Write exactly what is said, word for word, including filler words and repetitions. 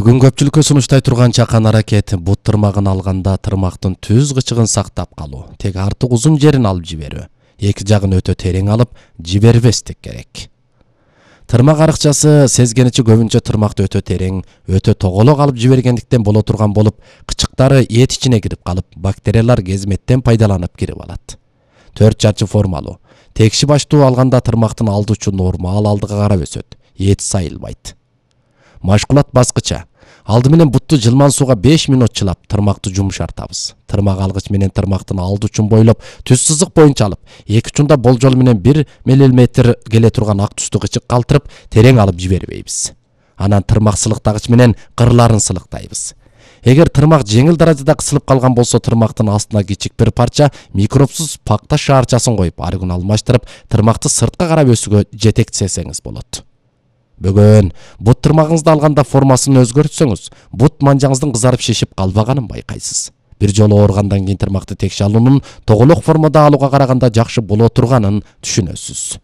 Бүгүн көпчүлүккө сунуштай турган чакан аракет бут тырмагын алганда тырмактын түз кычыгын сактап калуу, теги артык узун жерин алып жиберүү, эки жагын өтө терең алып жибербестик керек. Тырмак арыкчасы сезгеничи көбүнчө тырмакты өтө терең, өтө тоголок алып жибергендиктен боло турган болуп, кычыктары эт ичине кирип калып, бактериялар кезметтен пайдаланып кирип алат. Төрт жачы формалуу. Текши баштуу алганда тырмактын алды учу нормал алдыга карап өсөт, эт сайылбайт. Машкулат баскыча. Алды менен бутту жылман сууга беш мүнөт чылап, тырмакты жумшартабыз. Тырмак алгыч менен тырмактын алды учун бойлоп, түз сызык боюнча алып, эки учунда болжол менен бир миллиметр келе турган ак түстү кычык калтырып, терең алып жибербейбиз. Анан тырмак сылыктагыч менен кырларын сылыктайбыз. Эгер тырмак жеңил даражада кысылып калган болсо, тырмактын астына кичик бир парча микробсуз пакта шаарчасын коюп, арыгын алмаштырып, тырмакты сыртка карап өсүүгө жетектесеңиз болот. Бөгөн бут тырмагыңызды алганда формасын өзгөртсөңүз, бут манжаңыздын кызарып шишип калбаганын байкайсыз. Бир жолу ооругандан кийин тырмакты текши алуунун тоголок формада алууга караганда жакшы боло турганын түшүнөсүз.